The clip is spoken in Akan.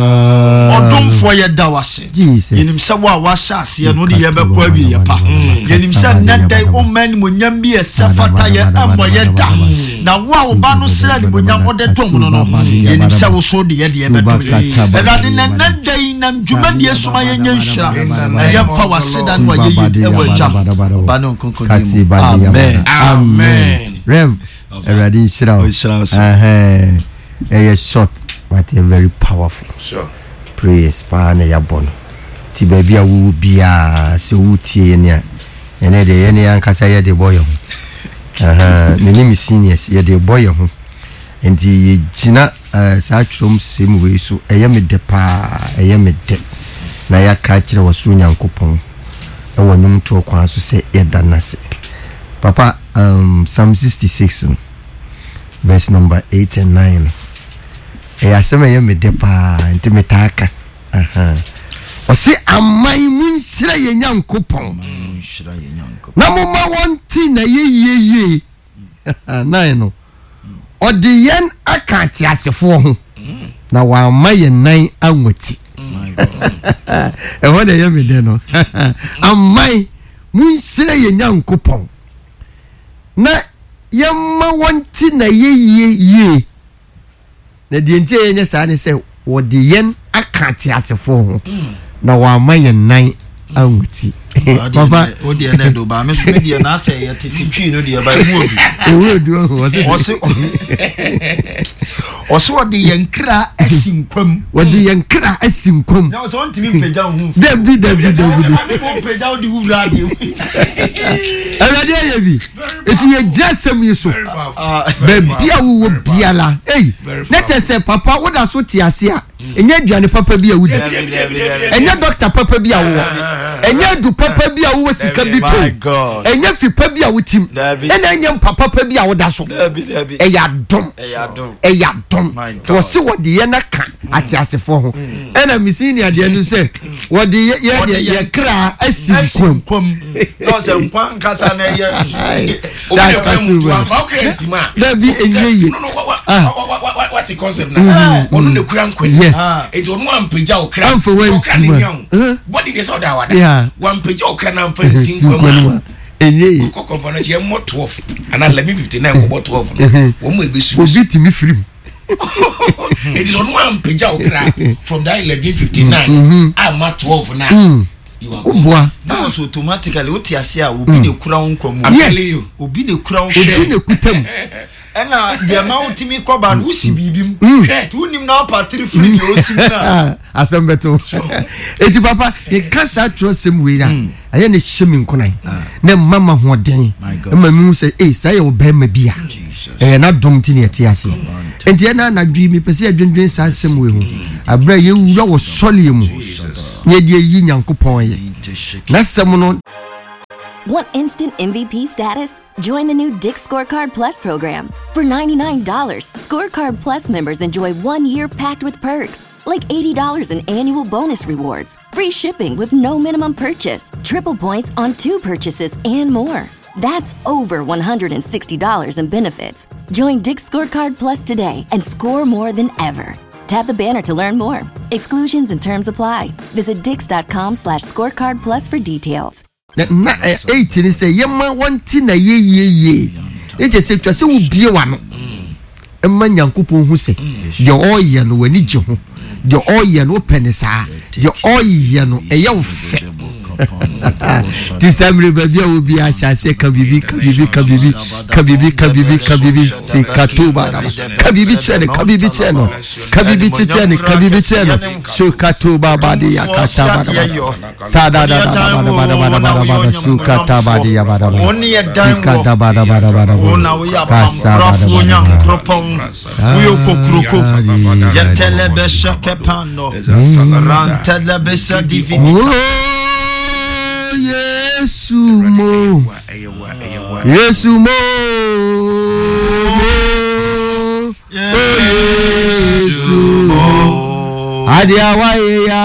Ɔdomfoɔ yɛda wo ase. Yɛnim sɛ wo a woahyɛ aseɛ no wode yɛbɛkɔ awieɛ pa. Yɛnim sɛ nnɛ da yi womma animuonyam bi ɛsɛ fata yɛ ɛmmɔ yɛ da. Na wo a wo ba no srɛ animuonyam wode dom no no, yɛnim sɛ wo so wode yɛ deɛ ɛbɛdom yɛ. Awurade na nnɛ da yi nam dwumadie so ma yɛnyɛ nhyira na yɛmfa w'aseda ne w'ayɛyie ɛwɔ Agya, Ɔba ne Honhom Kronkron din mu. Amen. Amen. Rev. Awurade nhyira wo. Ɛyɛ short but ɛyɛ very powerful. Sure. Prayers paa na yɛabɔ no. Nti baabi a wowɔ biara sɛ wotie yɛn a, ɛnɛ deɛ yɛne yɛn ankasa yɛde bɔ yɛn ho. Me ne me seniors yɛde bɔ yɛn ho. Nti yɛgyina uh, saa twerɛm sɛm wei so ɛyɛ me dɛ paa, ɛyɛ me dɛ. Na yɛaka akyerɛ wɔ soro Nyankopɔn ɛwɔ nnwomtoɔ kwan so sɛ yɛda no ase. Papa, um, Psalm 66 no, verse number 8 and 9 no, ɛyɛ asɛm a ɛyɛ me dɛ paa, nti metaa ka. Ɔse aman mu nhyira yɛ Nyankopɔn, na momma wɔnte na yɛyie yie. 9 no, ɔde yɛn aka ateasefoɔ ho, na wamma yɛn nan anwati. Ɛhɔ na ɛyɛ me dɛ no. Aman Monhyira yɛn Nyankopɔn, na yɛmma wɔnte n'ayɛyie yie. Na deɛ nti a yɛnyɛ saa ne sɛ wɔde yɛn aka ateasefoɔ ho, na wɔama yɛn nan anwati. Papa, o deɛ na ɛdo ba me so me deɛ na asɛ yɛ tete twi no deɛ ba emu odu. Emu odu ɔho ɔse ɔse ɔse ɔde yɛn kra asi nkwam. Wɔde yɛn kra asi nkwam. Na ɔsɛ ɔntumi mpagya wo ho mfi. Dabi dabi dabi. Mpagya wo de wo wura adeɛ. Awurade ayɛ bi. Eti yɛ gyina asɛm yi so. Baabi a wowɔ biara. Ei, na kyɛ sɛ papa woda so te ase a. Ɛnyɛ aduane papa bi a wodi. Ɛnyɛ dɔkta papa bi a wowɔ. Ɛnyɛ adu papa bi a wowɔ sika bi to. Ɛnyɛ fi pa bi a wotim. Ɛna ɛnyɛ mpa papa bi a woda so. Ɛyɛ adom. Ɛyɛ adom. Nti wɔse wɔde yɛn aka ateasefoɔ ho. Ɛna me senior deɛ no sɛ wɔde yɛ deɛ yɛ kra asi nkwam. Na ɔsɛ nkwa nkasa na ɛyɛ. Dabi ɛnyɛ yie. Wate concept na ɔno na kura nkwa Yes. Enti ɔno ampagya wo kra. Amfa wansi mu a. Body deɛ sɛ ɔda awada. Wampagya wo kra na amfa nsi nkwa mu a. Ɛnyɛ yie. Kɔkɔmfa no kyɛ mmɔ 12 anaa 11:59 kɔbɔ 12 no. Wɔn mu ebesu. Obi tumi firi mu. Enti ɔno ampagya wo kra from that 11:59 amma 12 na. You are gone. Woboa. Na wɔsɛ automatically wote ase a obi na ekura wo nkwa mu. Yes. Obi na ekura wo Obi na ekuta mu. Ɛna deɛ ma wotumi kɔba no wosi biribi mu. Nti wonim na wopatiri firi deɛ osi mu na. Asɛm bɛto. Eti papa yɛka saa twerɛsɛm wei a ɛyɛ ne hyɛ me nkonan na ɛma ma hoɔden ɛma mi hu sɛ ee saa yɛ ɔbɛrima bi a ɛyɛ n'adom nti na yɛte ase. Nti ɛna anadwo yi mepɛ sɛ yɛdwendwen saa asɛm wei ho aberɛ a yɛwura wɔ sɔleɛ mu na yɛde ayi Nyankopɔn yɛ. N'asɛm no. Want instant MVP status? Join the new Dick's Scorecard Plus program. For $99, Scorecard Plus members enjoy one year packed with perks, like $80 in annual bonus rewards, free shipping with no minimum purchase, triple points on two purchases, and more. That's over $160 in benefits. Join Dick's Scorecard Plus today and score more than ever. Tap the banner to learn more. Exclusions and terms apply. Visit dix.com slash scorecard plus for details. Na na eight ne sɛ yɛma wɔnte na yɛyie yie ne kyɛ sɛ twa sɛ wobie w'ano ma Nyankopɔn hu sɛ deɛ ɔreyɛ no w'ani gye ho deɛ ɔreyɛ no wopɛ ne saa deɛ ɔreyɛ no ɛyɛ wo fɛ ti saa mmerɛ baabi a obi ahyɛ aseɛ ka biribi ka biribi ka biribi ka biribi ka biribi ka biribi si ka to ba daba ka biribi kyerɛ no ka biribi kyerɛ no ka biribi kyerɛ no ka biribi kyerɛ no so ka to ba ba de ya ka ta ba daba ta da da da da ba da ba da ba da ba da su ka ta ba de ya ba da ba si ka da ba da ba da ba da ba ka sa ba da ba da ba Woyɛ kokuroko yɛtɛlɛbɛhyɛ kɛpando rantɛlɛbɛhyɛ dividi. Oh, Yesu mo, Yesu mo, mo, oh Yesu mo, adeɛ a wayɛ ya.